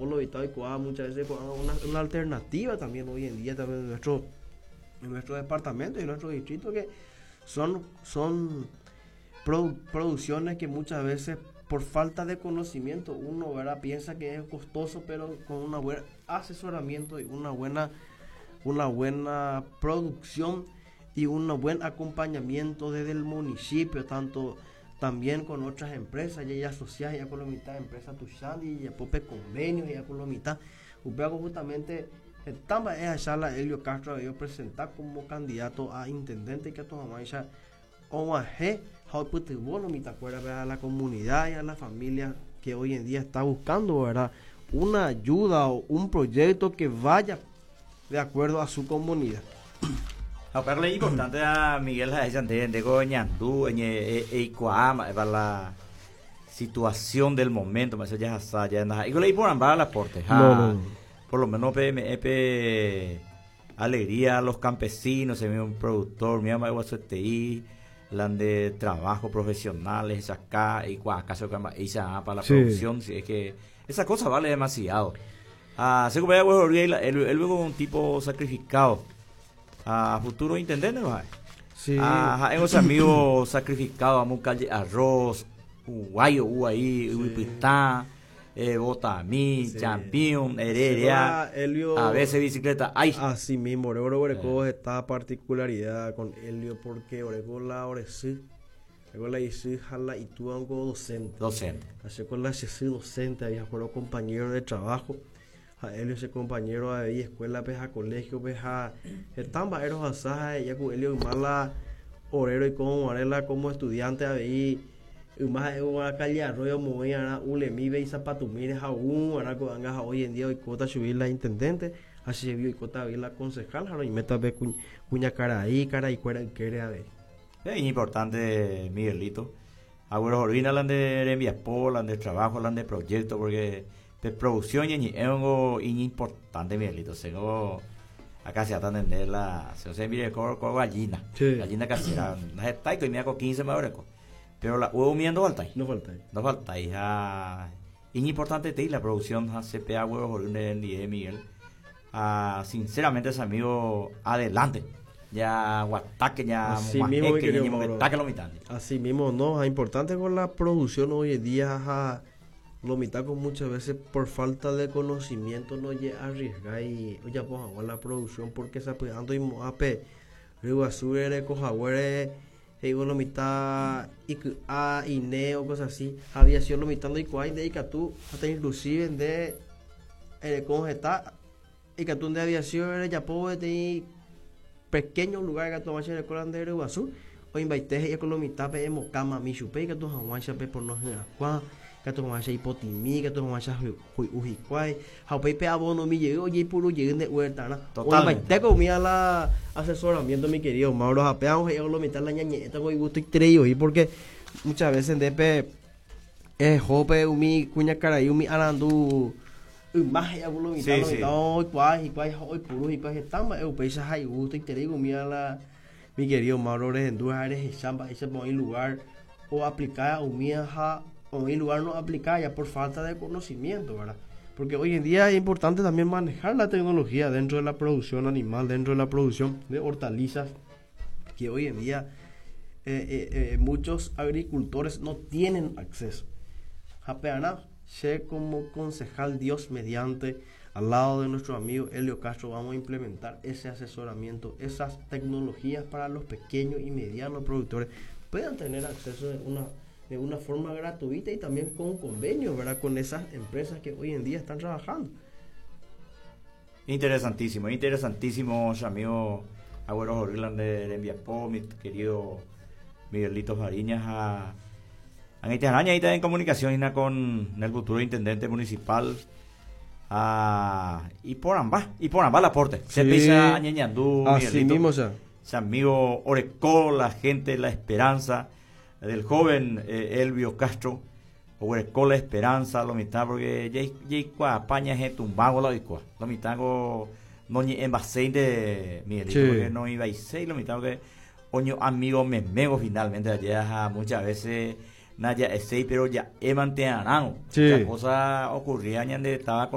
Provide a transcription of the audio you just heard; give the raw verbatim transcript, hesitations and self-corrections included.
lo muchas veces una, una alternativa también hoy en día también en nuestro, en nuestro departamento y en nuestro distrito, que son, son producciones que muchas veces por falta de conocimiento uno, ¿verdad?, piensa que es costoso, pero con un buen asesoramiento y una buena, una buena producción y un buen acompañamiento desde el municipio, tanto también con otras empresas, ya ya asociadas, ya con la mitad de empresas Tushandi, ya pope convenios, ya con la mitad. Upéva justamente estaba esa la Elvio Castro a presentar como candidato a intendente que a tu ya O A G a la comunidad y a la familia que hoy en día está buscando, ¿verdad?, una ayuda o un proyecto que vaya de acuerdo a su comunidad. Pero es importante a Miguel de ñandu para la situación del momento, más allá ya y le por ambas aporte. Por lo menos P M E P alegría a los campesinos, se un productor, mi ama T I, lan de trabajo profesionales acá y acaso para la producción, si es que esa cosa vale demasiado. Ah, se él él un tipo sacrificado a futuro intendente, ¿no? Sí. Ah, hemos amigos sacrificados, a calle arroz, guayo, ahí, sí. eh, Botamí, sí. Champion, Heredia, a veces bicicleta, ay. Así mismo, Orego Oreco eh. esta particularidad con Elvio porque Oreco la Oresí, Oreco la Isi jala y tú algo docente. Docente. Así con la Isi docente, había fueron compañero de trabajo. A Elvio ese compañero de escuela, pues a colegio, pues a están vaeros asaja, ya con Elvio mala orero y como arela como estudiante ahí más una calle Arroyo movía ulemi y zapatumires aún hoy en día hoy cota subir la intendente, así se vio y cota la concejal y meta ve cuña cara ahí cara y cuera quiere a ver. Es importante, Miguelito. Agüero Jorvina lan de enviapo, lan de trabajo, lan de proyecto, porque de producción y es algo importante, Miguelito. Tengo acá se atenden la se se mire con gallina, gallina casera, no está y me hago quince más. Pero la huevo miendo falta. No falta. No falta, hija. Es importante te la producción C P A huevos de Miguel. Ah, sinceramente, ese amigo, adelante. Ya guataque, ya Así mismo, que lo mitad. Así mismo, no, es importante con la producción hoy en día, lo mitad con muchas veces por falta de conocimiento no llega a arriesgar y oye, pues la producción porque se ando y moape río azul cojagüere digo lo mitad y a I N E o cosas así había sido lo mitad y cuál de tú hasta inclusive de eh, cómo está y que tú de aviación ya puedo tener pequeño lugar que tú vas a hacer de Iguazú o invaite y con lo mitad pe cama mi chupe que tú haguancha pe por no cuá que tú haguancha hipotimi que tú haguancha ujicuay jaupe pe abono mi llego oye puro lleguen de huerta na Totalmente. O mi a la asesoramiento, mi querido Mauro, apeamos y lo mitad la ñañeta con gusto y trello y porque muchas veces de pe eh jope umi cuña cara y umi arandu más ya lo mitad lo mitad hoy cuál y cuál hoy puro y cuál estamos eu pesa hay gusto y te digo mira la mi querido Mauro eres chamba ese pon lugar o aplicar umi ja o en lugar no aplicar ya por falta de conocimiento, ¿verdad? Porque hoy en día es importante también manejar la tecnología dentro de la producción animal, dentro de la producción de hortalizas, que hoy en día eh, eh, eh, muchos agricultores no tienen acceso. Japeana, sé como concejal, Dios mediante, al lado de nuestro amigo Elvio Castro, vamos a implementar ese asesoramiento, esas tecnologías para los pequeños y medianos productores puedan tener acceso de una, de una forma gratuita y también con convenios, ¿verdad?, con esas empresas que hoy en día están trabajando. Interesantísimo, interesantísimo, amigo Agüero Jorglan de, de Enviapó, mi querido Miguelito Fariñas, a Araña ahí está en comunicación con el futuro intendente municipal. Ah, y por ambas, y por ambas el aporte. Se pisa Ñañandú, Así mismo, o sea. Ese amigo Orecó, la gente, la esperanza del joven eh, Elvio Castro. Orecó la esperanza, lo mitad, porque ya paña es tumbago la lo mitad no ni en de Miguelito, porque no iba a ser lo mitad que oño amigo me mego finalmente allá muchas veces naya ese pero ya he mantenido. Sí. Cosa ocurría ñande estaba con